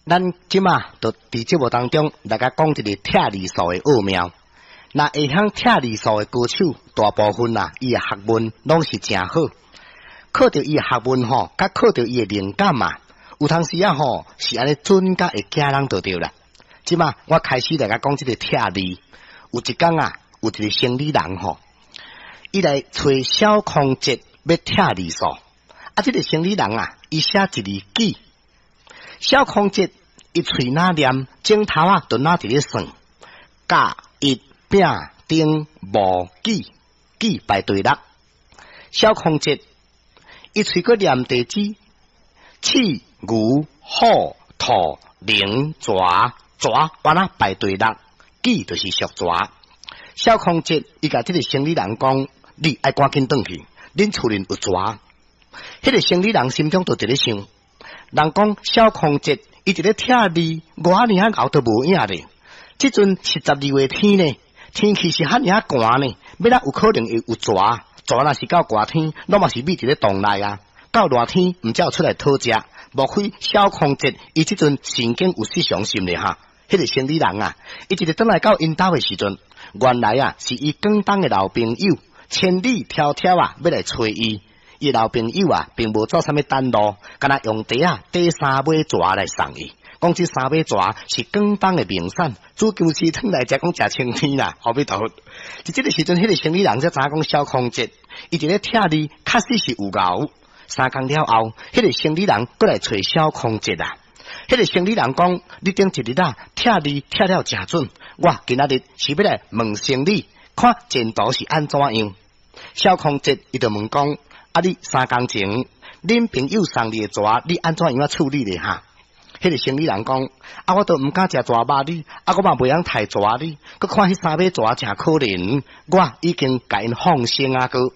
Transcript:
咱這馬就佇節目當中來共講一个拆字數的奧妙。若會曉拆字數的高手，大部分啊，伊的學問攏是誠好。靠著伊的學問吼，佮靠著伊的靈感啊，有當時啊吼，是按呢準甲會驚人就對啦。這馬我開始來共講這个拆字。有一工啊，有一个生理人吼，伊來揣蕭空哲欲拆字數。啊，這个生理人啊，伊寫一字杞。蕭空哲伊喙若念，指頭仔就若佇咧算，甲乙丙丁戊己，己排第六。蕭空哲伊喙閣念地支，鼠牛虎兔龍蛇，蛇原來排第六，己就是屬蛇。蕭空哲伊共這个生理人講：你愛趕緊轉去，恁厝裡有蛇。彼个生理人心中就佇咧想，人講蕭空哲伊佇咧拆字，我爾仔𠢕都無影咧。這陣是12月天呢，天氣是遐爾仔寒呢，欲怎有可能會有蛇？蛇若是到寒天，攏嘛是覕佇咧洞內啊。到熱天，毋才會出來討食。莫非蕭空哲伊這陣神經有失常是毋是哈？彼个生理人啊，伊一日轉來到𪜶兜的時陣，原來啊是伊廣東的老朋友千里迢迢啊欲來揣伊。伊老朋友啊，並無走啥物短路，干焦用袋仔提三尾蛇來送伊。講這三尾蛇是廣東的名產，煮薑絲湯來食，講誠清甜啦。阿彌陀佛，佇這个時陣，彼个生理人才知影講蕭空哲，伊佇咧拆字，確實是有𠢕。3工了後，彼个生理人閣來揣蕭空哲啊。彼个生理人講：你頂一日啊，拆字拆了誠準，我今仔日是欲來問生理，看前途是按怎樣。蕭空哲伊就問講：啊！你3工前，恁朋友送你的蛇，你按怎樣仔處理咧？哈？彼个生理人講：啊，我都毋敢食蛇肉哩，啊，我嘛袂曉刣蛇哩。閣看彼三尾蛇誠可憐，我已經共𪜶放生啊！閣